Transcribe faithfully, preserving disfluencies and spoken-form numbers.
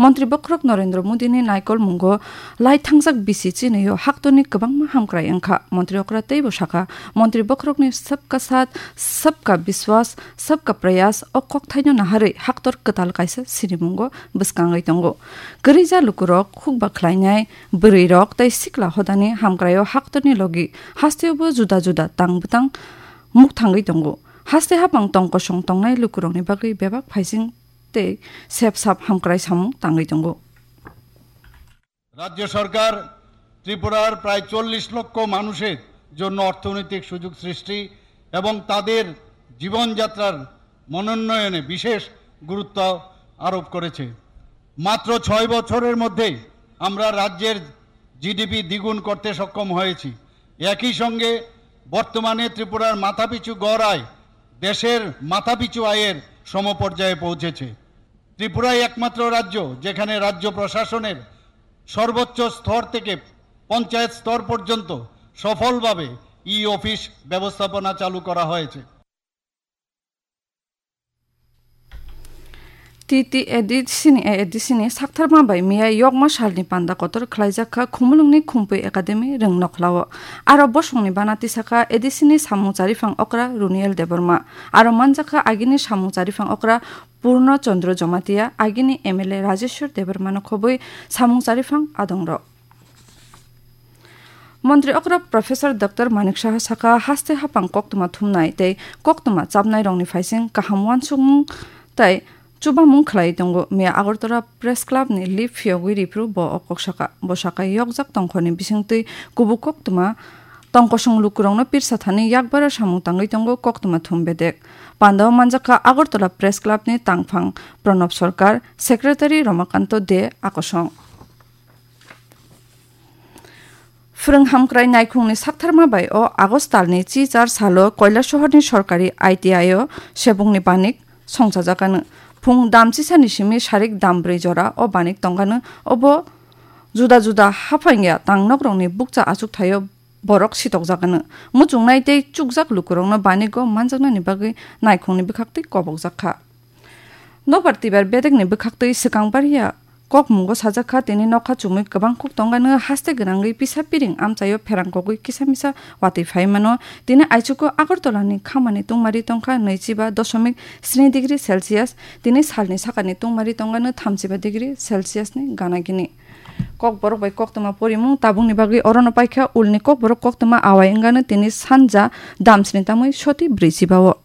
Montri bokhorok Narendra Modi ni naikol mungo lai thangjak bisi chini o haktorni kwbangma hamkrai wngkha. Montri okra teibo sakha, Montri bokhorokni sabka saath, sabka biswas, sabka prayas o kokthaino naharwi haktor kwtal kaisa sinimungo bwskangwi tongo. Kwrwija lukurok, khukba khlainai bwrwirok tei sikla hodani hamkraio haktorni logi hasteobo juda juda tang bwtang mukthangwi tongo. Haste hapang tong kosong tongnai lukurokni bagwi bebak phaising tei sep sap hamkrai samung tangwi tongo. রাজ্য সরকার ত্রিপুরার প্রায় চল্লিশ লক্ষ মানুষের জন্য অর্থনৈতিক সুযোগ সৃষ্টি এবং তাদের জীবনযাত্রার মানোন্নয়নে বিশেষ গুরুত্ব আরোপ করেছে। মাত্র ছয় বছরের মধ্যেই আমরা রাজ্যের জিডিপি দ্বিগুণ করতে সক্ষম হয়েছি। একই সঙ্গে বর্তমানে ত্রিপুরার মাথাপিছু গড় আয় দেশের মাথাপিছু আয়ের সমপর্যায়ে পৌঁছেছে। ত্রিপুরাই একমাত্র রাজ্য যেখানে রাজ্য প্রশাসনের সর্বোচ্চ স্তর থেকে পঞ্চায়েত স্তর পর্যন্ত সফলভাবে ই অফিস ব্যবস্থাপনা চালু করা হয়েছে। T T A D C ni A A D C ni saktharma bai miya yokma salni panda kotor khlaijak kha Khumulwngni Khumpui Academy Rwngnokhlao. Aro bosongni bana tisakha A D C ni samung chariphang okra Runiel Debbarma. Aro manjakha agini samung chariphang okra Purno Chandra Jamatia, agini M L A Rajeshwar Debbarmano khobwi samung chariphang adongrok. Montri okra Professor Doctor Manik Saha sakha, haste hapang koktwma thumnai tei koktwma chapnairokni phaising kaham uansukmung tei chubamung khlai tongo. Miya Agartala Press Club ni lip phiyogwi riphru bo o kok sakha. Bo sakha, yokjak tongkhorni bisingtwi kubuk koktwma tongkosong lukurokno pirsa thani yakbar samung tangwi tongo koktwma thum bedek. Pandao manjakha Agartala Press Club ni tangphang Pranab Sarkar, Secretary Ramakanto De Akosong. Phwrwng hamkrai naikhungni saktharma bai o August talni chi char salo Kailasahar ni sorkari I T I o sebungni banik songchajakano. Phung dam chisani simi sarik dam brwi jora o banik tongkano. Obo juda juda haphangya tangnokrokni bukcha achukthai o borok sitokjakano. Muchungnai tei chukjak lukurokno banigo manjaknani bagwi naikhungni bwkhaktwi kobokjak kha. Nokbar twibar bedekni bwkhaktwi swkang bariya kokmungo sajak kha, tini nokha chumui kwbang kuk tongkano haste gwnangwi pisa piring amchaio pherang kogwi kisa misa watwi phai mano. Tini aichugo Agartala ni khamani tungmari tongkha nwichiba dosomik sni degree Celsius, tini salni sakani tungmari tongkano thamchiba degree Celsius ni gana gini. Kokborok bai koktwma porimung tabukni bagwi orono paikha ulni kokborok koktwma awai wngkano tini sanja damsni tamwi soti brwichiba o.